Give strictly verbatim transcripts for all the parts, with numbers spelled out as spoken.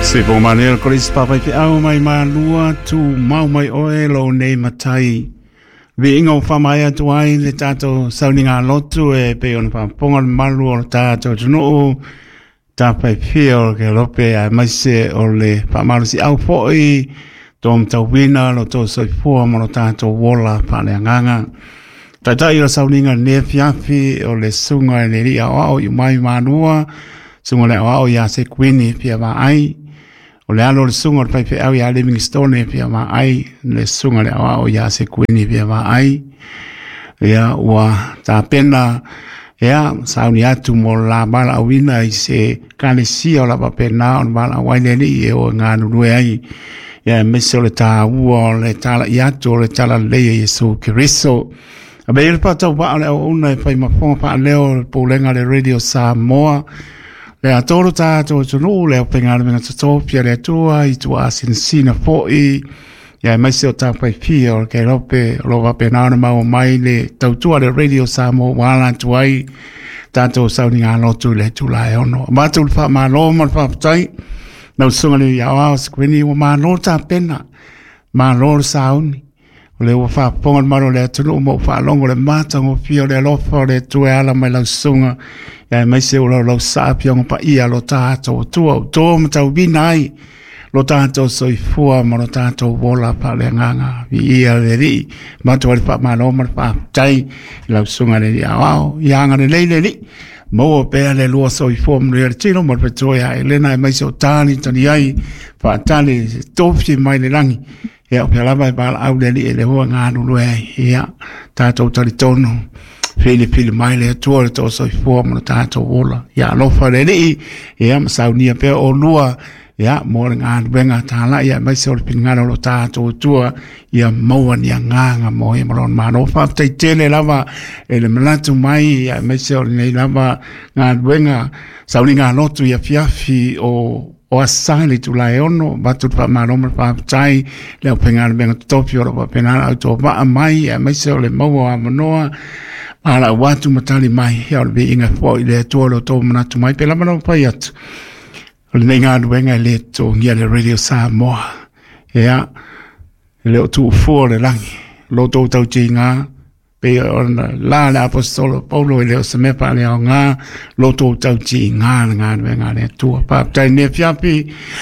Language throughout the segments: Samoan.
Se po manel kolis papai pe au mai malua tu mau mai oe lo nei matai. Vi inga o whamai atu ai le tātou sauninga lotu e pe ona whamponga le malu o le tātou tunuu tāpai pia o ke lope a maise o le whamarusi au foi tō mtauwina lo tō soifua mo lo tātou wola whale anganga. Taitai o sauninga ne fiafi o le sunga e le ria o au i mai manua sunga le o au ia se kuini pia wa ai. O le alo le sunga o le paipe au ia Livingstone pia ma ai, le sunga le au ia se kuini pia ma ai. Ia ua tāpena, ia sauni atu mo la mala awina i se kalesia o la papena o le mala awai le li e o ngā nurue ai. Ia mese o le tā ua o le tāla i atu o le tāla leia Yesu Keriso. A be le pātau waa o le au una e whai mafonga paa leo le pōlenga le Radio Samoa. Le a tōru tātou tunu, le au penga menga tōpia le atua, i tua asinsina foi, ia e maise o tāpai pia o ke rope, o lo wape nāna mau mai le tautua le Radio Samoa wāla atu ai, tātou sauni ngā lotu le tula e ono. Mātou le wha mālō ma le whaapatai, nau sunga le iau ao skwini, ua mālō tā pena, mālō le sauni. O le ua whaaponga le maro le atunu, mo whaalongo le mātango pia o le alofa o le tue ala mai lau sunga. Ia e maise o lau lau saa pionga pa ia lo tātou tua o tō matau wina ai. Lo tātou soifua ma lo tātou wola pa le nganga. Vi ia le ri, mātua le wha mālo ma le whaapatai, lau sunga le ri au au, ia anga le leile li. Maua pea le lua soifua mo le tino mo le petoa e lena e maise o tāni tani ai, whaatali tōwhi mai le langi. Ia o pea lava e pāla au le li e le hoa ngā nulu ai. Ia, tātou tari tonu, pili pili mai le atua le tō soifua mo le tātou ola. Ia, alofa le li, ia, masaunia pea o lua, ia, mo le ngā nuenga tāla, ia, mai se o le piningalo lo tātou atua, ia, maua ni a ngānga mo e malon māno. Whāptai tele lava, e le malatu mai, ia, mai se o le nei lava ngā nuenga, sauni ngā lotu ia fiafi o o asali tu lai ono, batu pa maroma pa tai, le penga le benga topi o pa pena au to va mai, e mai se o le maua a manoa, ala watu matali mai, ia o le inga fo i le atua lo tō manatu mai, pela mana pai atu. O le nei ngā nuenga le tō ngia le Radio Samoa. Ia, le o tu fua le langi, lo tō tau ti ngā, pe ona la le apostolo Paulo i le o se mepa le au ngā, lo tō tau ti ngā ngā nuenga le atua. Pāptai ne fiapi,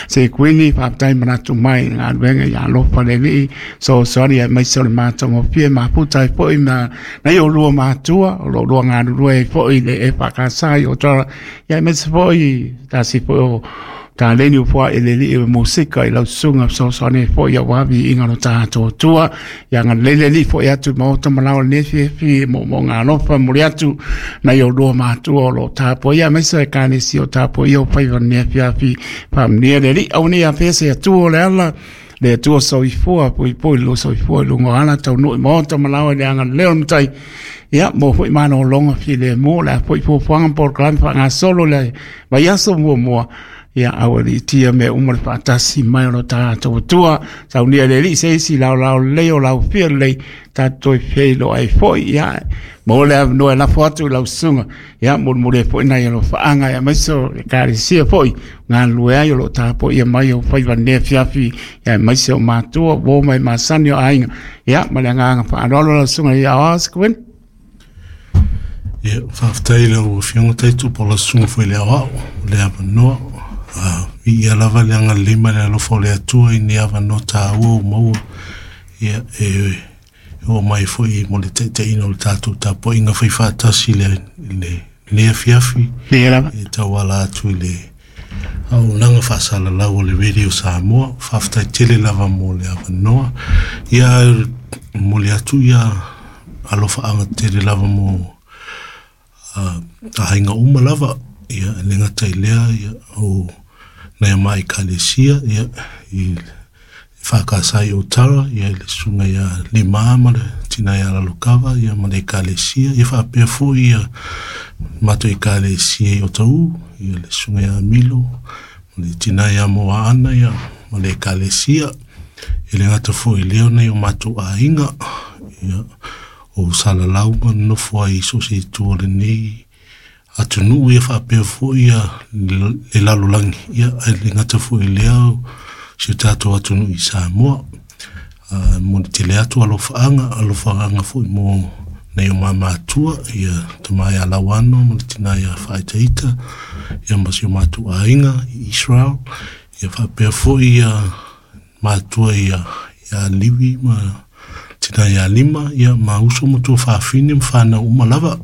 se kuini, pāptai manatu mai ngā nuenga ia alofa le lii, so soari e mai se o le mātongo pia, maputai foi na, nei o lua mātua, o lo lua ngā nurue foi le e whakasai o tara, ia me se foi, tasi foi o tā leni upua e le li e musika i lau sunga so so ne fo ia wabi inga lo tātou tua ia ngā lele li fo ia atu maota malao ne fi fi mo mo ngā lofa muri atu na i o lua mātua o lo tāpo ia meisa e kāne si o tāpo ia o whaiwa ne fi fi pamnia le li au ne a fese atu o le ala le atua soifua pui pui lo soifua lungo ala tau nui maota malao le anga leo matai. Ia, mo foi mana o longa fi le mo le foi fuafuaga polokalame faagasolo le vaiaso muamua. Ia, aua liitia mea uma le faatasi mai o lo tatou atua. Saunia le alii se isi laolao lelei o laufia lelei tatou toe feiloai ai foi. Ia, mo le avanoa e lafo atu i lau susuga. Ia, molimoli ai foi nai alofaaga ia aemaise o le ekalesia foi galulue ai o loo tapoia mai o faiva lenei afiafi. Ia, aemaise o matua uo mai masani o aiga. Ia, ma le agaga faaaloalo lau susuga ia aoao Sekuini. Ia, faafetai lau afioga Taitu po o la susuga foi le aoao, le avanoa. Ia lava le agalelei ma le alofa o le Atua i nei avanoa tāua o maua. Ia, e oo mai foi mo le taitaiina o le tatou tapuaiga faifaatasi le lenei afiafi. Ia lava. E tauala atu i le auaunaga faasalalau o le Radio Samoa. Faafetai tele lava mo le avanoa. Ia, momoli atu ia alofaaga tele lava mo aiga uma lava. Ia, e le gata i lea, ia, o nai a mai ekalesia, ia, i whakasai o Tara, ia, le susuga ia Lima ma le tina ia Lalokava, ia, ma le ekalesia, ia faapea foi ia matou ekalesia i Otahuhu, ia, le susuga ia Milo, ma le tina ia Moaana, ia, ma le ekalesia, e le gata foi i lea nai o matou aiga, ia, o Salalau ma nonofo ai i so o se itu o lenei atunuu ia faapea fo'i ia le lalolagi ia ae le gata fo'i lea si o tatou atunuu i Samoa. Uh, mo le tele atu alofaaga alofaaga fo'i mo nei o mamatua ia tama ia lauano ma le tina ia faaitaita ia ma si o matou aiga i Israel ia faapea fo'i ia matua ia ia Livi ma tina ia Lima ia ma uso ma tua faafine ma fanau uma lava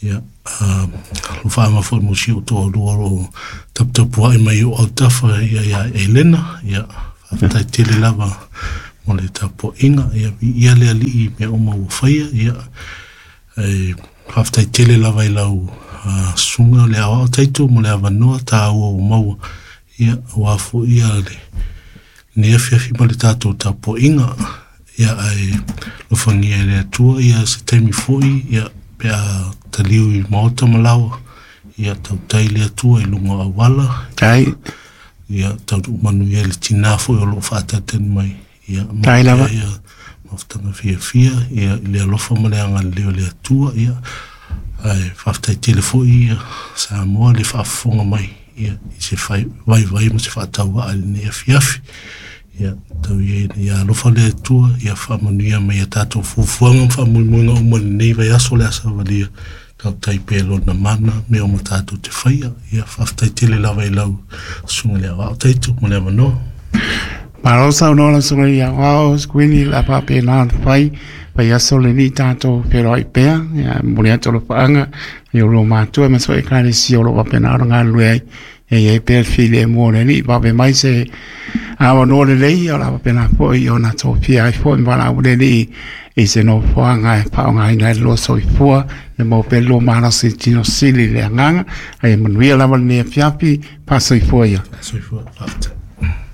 ia uh, alofaaga fo'i mo si o toalua o loo taputapua'i mai o autafa ia ia Elena ia faafetai tele lava mo le tapua'iga ia viia le ali'i mea uma ua faia ia e faafetai tele lava i lau uh, susuga le aoao taito mo le avanoa tāua ua maua ia auā fo'i ia le lenei afiafi ma le tatou tapua'iga ia ae lofagia e le Atua ia se taimi fo'i ia pe a taliu i maota ma laoa ia tautai le Atua i luga o auala Tai. ia taunuu manuia le tinā fo'i o loo faatalitali mai ia Tai lava. Ia mafutaga fiafia ia i le alofa ma le agalelei o le Atua ia ae faafetai tele fo'i ia Samoa le faafofoga mai ia i se fai vaivai ma se faatauaa i lenei afiafi ia tau ia ia alofa le Atua ia faamanuia mai ia tatou fuafuaga ma faamoemoega uma i lenei vaiaso le a savalia tautai pea lona mana mea uma tatou te faia ia faafetai tele lava i lau susuga le aoao taito mo le avanoa. Malo saunoa lau susuga i aoao Sikuini la faapena ona fai fai aso lenei tatou feloai pea ia momoli atu alofaaga i o matua ma so ekalesia o loo faapena ona galulue ai e iai pea le filemu o le Alii vave mai se avanoa lelei o la faapena fo'i ona tofia ai fo'i ma valaau le Alii i se nofoaga e faaaogaina ai le lua soifua e maua pea le lua malosi tino sili le agaga ae manuia lava lenei afiafi faasoifua ia. Soifua faafetai.